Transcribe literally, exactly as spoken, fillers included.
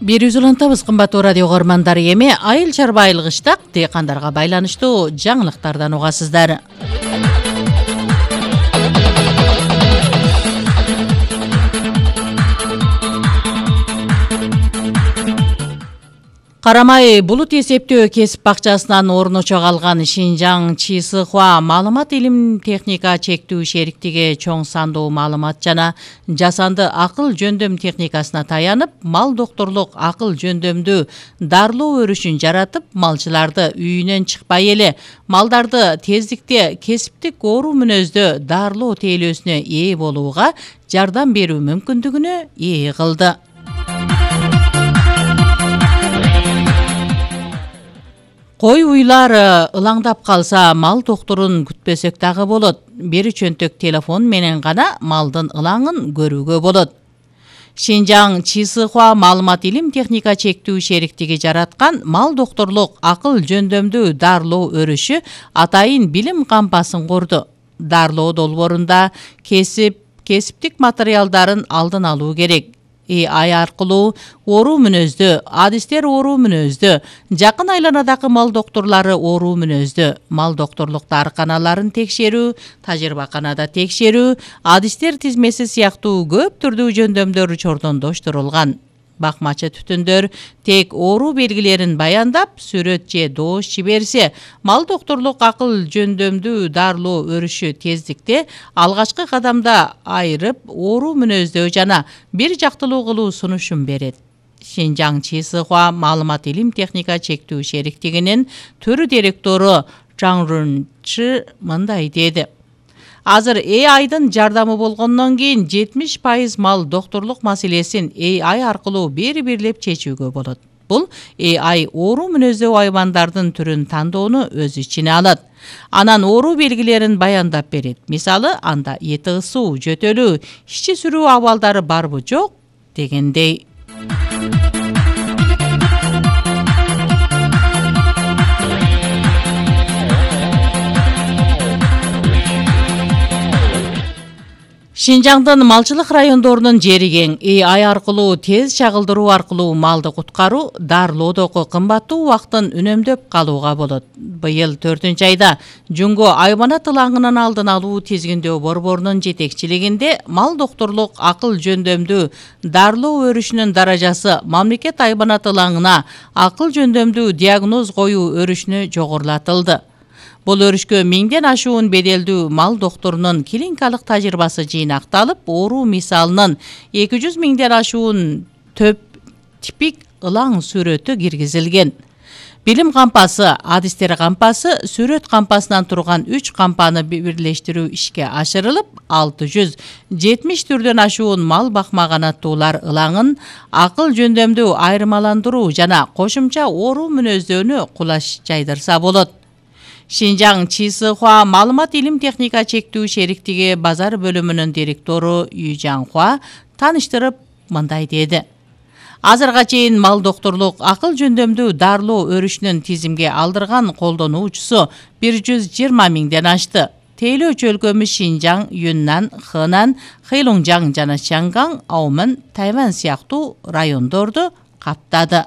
бир жүз улантабыз кымбаттуу радио көрмандары, эми айыл чарбайлык иштак дыйкандарга байланыштуу жаңылыктардан угасыздар. Карамай булут эсептөө кесип бакчасынан орночо калган Шинжаң Чисыхуа маалымат илим техника чектүү шериктиги чоң сандуу маалымат жана жасанды акыл жөндөм техникасына таянып, мал докторлук акыл жөндөмдүү дарылоо өрүшүн жаратып, малчыларды үйүнөн чыкпай эле малдарды тездикте кесиптик оору мүнөздө дарылоо тейлөөсүнө ээ болууга жардам берүү мүмкүндүгүнө ээ кылды. Кой уйлар ылаңдап калса, мал докторун күтпөсөк дагы болот. Бир чөнтөк телефон менен гана малдын ылаңын көрүүгө болот. Шинжаң Чисыхуа маалымат илим техника чектүү шериктиги жараткан мал докторлук акыл жөндөмдүү дарылоо өрүшү атайын билим кампасын курду. Дарылоо долбоорунда кесип, кесиптик материалдарын алдын алуу керек. Э ай аркылуу оору мүнөздө, адистер оору мүнөздө, жакын айланадагы мал докторлору оору мүнөздө, мал докторлук дарыканаларын текшерүү, тажрыйбаканада текшерүү, адистер тизмеси сыяктуу көп түрдүү жөндөмдөр чордондоштурулган. Бакмачы түтүндөр тек оору белгилерин баяндап, сүрөт же доош жиберсе, мал докторлук акыл жөндөмдүү дарылоо өрүшү тездикте алгачкы кадамда айырып, оору мүнөздөө жана бир жактылуу кылуу сунушун берет. Шинжаң Чисыхуа маалымат илим техника чектүү шериктигинин төрү директору Чаң Рунчы мындай деди. Азыр э айдын жардамы болгондон кийин жетимиш пайыз мал докторлук маселесин э ай аркылуу бери-бирлеп чечүүгө болот. Бул э ай оору мүнөздүү айбандардын түрүн тандоону өз ичине алат. Анан оору белгилерин баяндап берет. Мисалы, анда эти ысуу, жөтөлүү, ичи сүрүү абалдары барбы жок дегендей. Шинжаңдын малчылык райондорунун жери кең. э ай аркылуу тез чагылдыруу аркылуу малды куткаруу, дарылоодогу кымбаттуу убактын үнөмдөп калууга болот. Быйыл төртүнчү айда Жунго айбанат ылаңынын алдын алуу тизгиндөө борборунун жетекчилигинде мал докторлук акыл жөндөмдүү дарылоо өрүшүнүн даражасы мамлекет айбанат ылаңына акыл жөндөмдүү диагноз коюу өрүшүнө жогорулатылды. Бул өрүшкө миңден ашуун беделдүү мал докторунун клиникалык тажрыйбасы жыйнакталып, оору мисалынын эки жүз миңден ашуун төп типик ылаң сүрөтү киргизилген. Билим кампасы, адистер кампасы, сүрөт кампасынан турган үч кампаны бирлештирүү ишке ашырылып, алты жүз жетимиш түрдөн ашуун мал бакмаганаттуулар ылаңын акыл жөндөмдүү айырмаландыруу жана кошумча оору мүнөздөнү кулаш жайдырса болот. Шинжаң Чисыхуа маалымат илим техника чектүү шериктиги базар бөлүмүнүн директору Южаңхуа таныштырып мындай деди. Азырга чейин мал докторлук акыл жөндөмдүү дарылоо өрүшүнүн тизимге алдырган колдонуучусу бир жүз жыйырма миңден ашты. Тейлөөчү өлкөмүз Шинжаң, Юннан, Хэнан, Хэйлунжаң жана Чанган, Аумэн, Тайвань сыяктуу райондорду каптады.